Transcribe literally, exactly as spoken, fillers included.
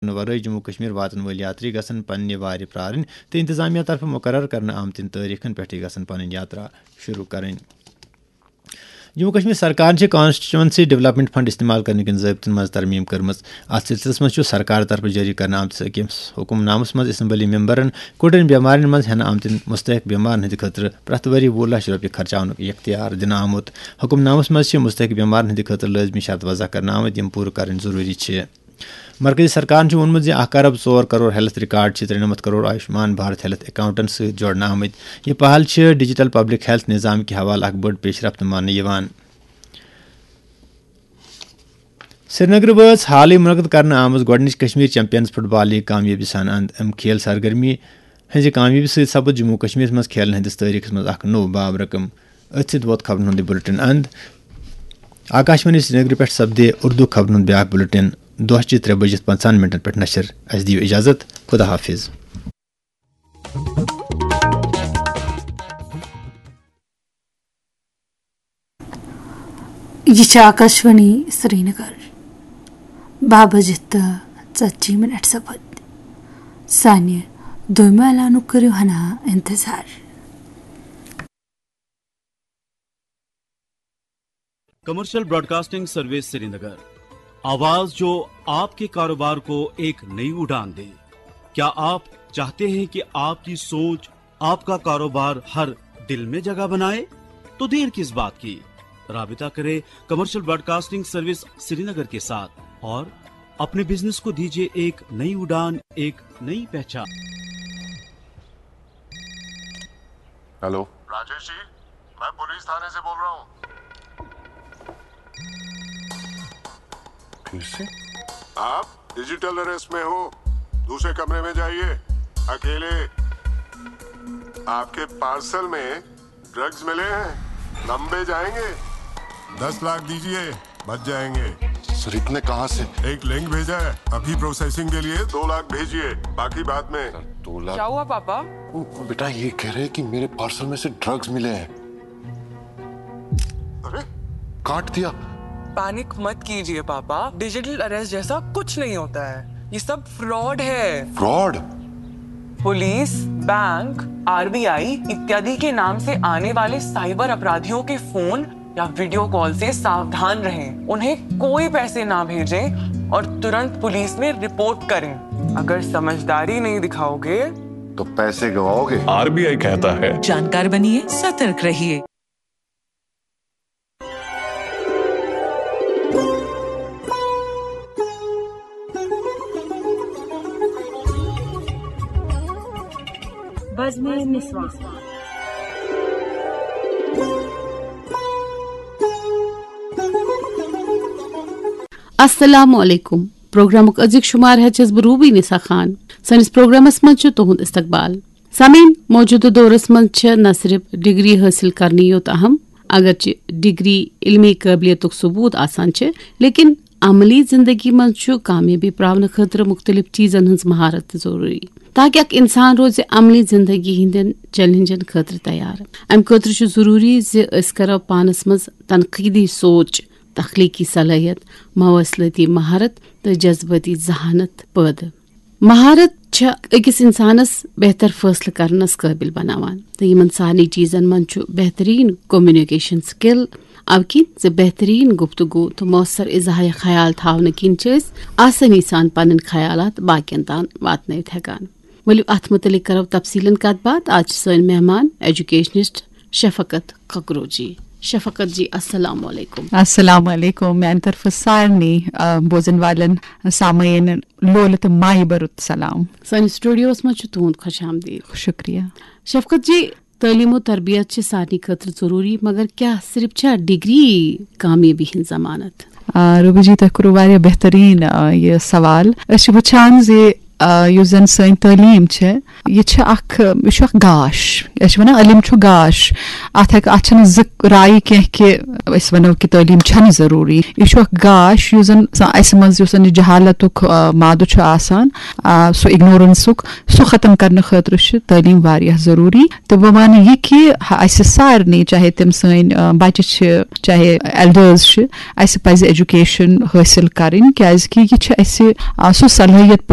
کرنہٕ ورٲے جموں کشمیر واتن وٲلۍ یاتری گژھن پننہِ وارِ پرارٕنۍ تہٕ انتظامیہ طرفہٕ مقرر کرنہٕ آمتٮ۪ن تٲریخن پٮ۪ٹھٕے گژھن پنٕنۍ یاترا شروع کرٕنۍ۔ جموں کشمیر سرکارن چھِ کانسٹیچوئنسی ڈیولپمنٹ فنڈ استعمال کرنہٕ کٮ۪ن ضٲبطن منٛز ترمیم کٔرمٕژ۔ اتھ سلسلس منٛز چھُ سرکار طرفہٕ جٲری کرنہٕ آمتِس أکِس حکم نامس منٛز اسمبلی ممبرن کُٹھٮ۪ن بٮ۪مارٮ۪ن منٛز ہٮ۪نہٕ آمتٮ۪ن مستحق بٮ۪مارن ہٕنٛدِ خٲطرٕ پرٛٮ۪تھ ؤری وُہ لچھ رۄپیہِ خرچاونُک اختیار دِنہٕ آمُت۔ حکم نامس منٛز چھِ مستحق بٮ۪مارن ہٕنٛدِ خٲطرٕ لٲزمی شرط وضع کرنہٕ آمٕتۍ، یِم پوٗرٕ کرٕنۍ ضروٗری چھِ۔ مرکزی سرکارن چھُ ووٚنمُت زِ اکھ ارب ژور کرور ہیلتھ ریکارڈ چھِ ترٛےٚ نَمَتھ کرور آیوشمان بھارت ہیلتھ اکاؤنٹن سۭتۍ جوڑنہٕ آمٕتۍ۔ یہِ پہل چھِ ڈیجیٹل پبلک ہیلتھ نظام کہِ حوالہٕ اکھ بٔڑ پیشرفت ماننہٕ یِوان۔ سرینگرٕ وٲژ حالٕے منعقد کرنہٕ آمٕژ گۄڈٕنِچ کشمیر چیمپینز فٹ بال لیگ کامیٲبی سان اند۔ امہِ کھیل سرگرمی ہٕنٛزِ کامیٲبی سۭتۍ سپُد جموں و کشمیرس منٛز کھیلن ہٕنٛدِس تٲریخس منٛز اکھ نوٚو باب رقم۔ أتھۍ سۭتۍ ووت خبرن ہُنٛد یہِ بُلٹن اند۔ آکاشوانی سرینگرٕ پٮ۪ٹھ سپدِ اردو خبرن ہُنٛد بیاکھ بُلٹن دۄہ چہِ ترٛےٚ بجِتھ پنٛژاہن منٹن پٮ۪ٹھ نشر۔ اسہِ دِیِو اجازت۔ خدا حافظ۔ یہِ چھِ آکاشوانی سرینگر۔ باہ بجِتھ تہٕ ژتجی منٹ سپٕدۍ۔ سانہِ دوٚیمہِ اعلانُک کٔرِو ہنا انتظار۔ کمرشل براڈکاسٹنگ سروس سرینگر، آواز جو آپ کے کاروبار کو ایک نئی اڑان دے۔ کیا آپ چاہتے ہیں کہ آپ کی سوچ، آپ کا کاروبار ہر دل میں جگہ بنائے؟ تو دیر کس بات کی؟ رابطہ کریں کمرشل براڈکاسٹنگ سروس سرینگر کے ساتھ اور اپنے بزنس کو دیجیے ایک نئی اڑان، ایک نئی پہچان۔ ہیلو۔ راجیش جی، میں پولیس تھانے سے بول رہا ہوں۔ پھر سے؟ آپ ڈیجیٹل اریسٹ میں ہو، دوسرے کمرے میں جائیے، اکیلے۔ آپ کے پارسل میں ڈرگز ملے ہیں، لمبے جائیں گے۔ دس لاکھ دیجیے، بچ جائیں گے۔ سر، اتنے کہاں سے؟ ایک لنک بھیجا ہے، ابھی پروسیسنگ کے لیے دو لاکھ بھیجیے، باقی بعد میں۔ سر، دو لاکھ؟ کیا ہوا پاپا؟ وہ بیٹا یہ کہہ رہے ہیں کہ میرے پارسل میں سے ڈرگز ملے ہیں۔ ارے؟ کاٹ دیا۔ پینک مت کیجیے پاپا، ڈیجیٹل اریسٹ جیسا کچھ نہیں ہوتا ہے، یہ سب فراڈ ہے۔ فراڈ؟ पुलिस, बैंक, आरबीआई इत्यादि के नाम से आने वाले साइबर अपराधियों के फोन या वीडियो कॉल से सावधान रहें। उन्हें कोई पैसे ना भेजें और तुरंत पुलिस में रिपोर्ट करें। अगर समझदारी नहीं दिखाओगे तो पैसे गवाओगे। आरबीआई कहता है, जानकार बनिए, सतर्क रहिए। بزمِ نسواں۔ السلام علیکم۔ پروگرامُک أزیُک شمار ہیٚژ چھَس بہٕ روبی نسا خان۔ سٲنِس پروگرامس منٛز چھُ تُہُنٛد استقبال۔ سامعین، موجودٕ دورس منٛز چھِ نہ صرف ڈگری حٲصِل کرنی یوت اہم، اگرچہِ ڈگری علمی قٲبلیتُک ثبوت آسان چھِ، لیکن عملی زندگی منٛز چھُ کامیٲبی پراونہٕ خٲطرٕ مُختٔلِف چیٖزن ہٕنٛز مہارت تہِ ضروٗری، تاکہِ اکھ انسان روزِ عملی زندگی ہٕنٛدٮ۪ن چیلنجن خٲطرٕ تیار۔ امہِ خٲطرٕ چھُ ضروٗری زِ أسۍ کرو پانس منٛز تنقیٖدی سونچ، تخلیقی صلٲحیت، مواصلٲتی مہارت تہٕ جذبٲتی ذہانت پٲدٕ۔ مہارت چھےٚ أکِس انسانس بہتر فٲصلہٕ کرنس قٲبِل بناوان، تہٕ یِمن سارنٕے چیٖزن منٛز چھُ بہتریٖن کمیونیکیشن سکل، اَوٕ کِنۍ زِ بہتریٖن گفتگو تہٕ مؤثر اظہارِ خیال تھاونہٕ کِنۍ چھِ أسۍ آسٲنی سان پنٕنۍ خیالات باقین تام واتنٲوِتھ ہٮ۪کان۔ ؤلِو، اتھ مُتعلق کرو تفصیٖلن کتھ باتھ۔ آز چھِ سٲنۍ مہمان ایجوکیشنسٹ شفقت ککرو جی۔ شفقت جی، السلام علیکم۔ السلام علیکم۔ میانہِ طرفہٕ سارنٕے، آ، بوزن والٮ۪ن سامعیٖنن لولہٕ تہٕ مایہِ بھرُت سلام۔ سٲنِس سٹوڈیوس منٛز چھُ تُہُنٛد خۄش آمدید۔ شُکریہ۔ شفقت جی، تعلیم و تربیت چھِ سارنٕے خٲطرٕ ضروٗری، مگر کیٛاہ صرف چھا ڈگری کامیٲبی ہٕنٛز ضمانت؟ آ، روبی جی، تۄہہِ کوٚروٕ واریاہ بہتریٖن، آ، یہِ سوال۔ أسۍ چھِ وٕچھان زِ آ، یُس زَن سٲنۍ تعلیٖم چھےٚ، یہِ چھِ اَکھ، یہِ چھُ اَکھ گاش۔ أسۍ چھِ وَنان علم چھُ گاش۔ اَتھ ہٮ۪کہٕ، اَتھ چھَنہٕ زٕ رایہِ کینٛہہ کہِ أسۍ وَنو کہِ تعلیٖم چھَنہٕ ضروٗری۔ یہِ چھُ اَکھ گاش، یُس زَن سا-، اَسہِ منٛز یُس زَن یہِ جہالتُک، آ، مادٕ چھُ آسان، آ، سُہ اِگنورَنسُک، سُہ ختم کَرنہٕ خٲطرٕ چھِ تعلیٖم واریاہ ضروٗری۔ تہٕ بہٕ وَنہٕ یہِ کہِ اَسہِ سارنٕے، چاہے تِم سٲنۍ، آ، بَچہِ چھِ، چاہے ایلڈٲرٕز چھِ، اَسہِ پَزِ ایجوکیشن حٲصِل کَرٕنۍ، کیازِ کہِ یہِ چھِ اَسہِ، آ، سُہ صلٲحیت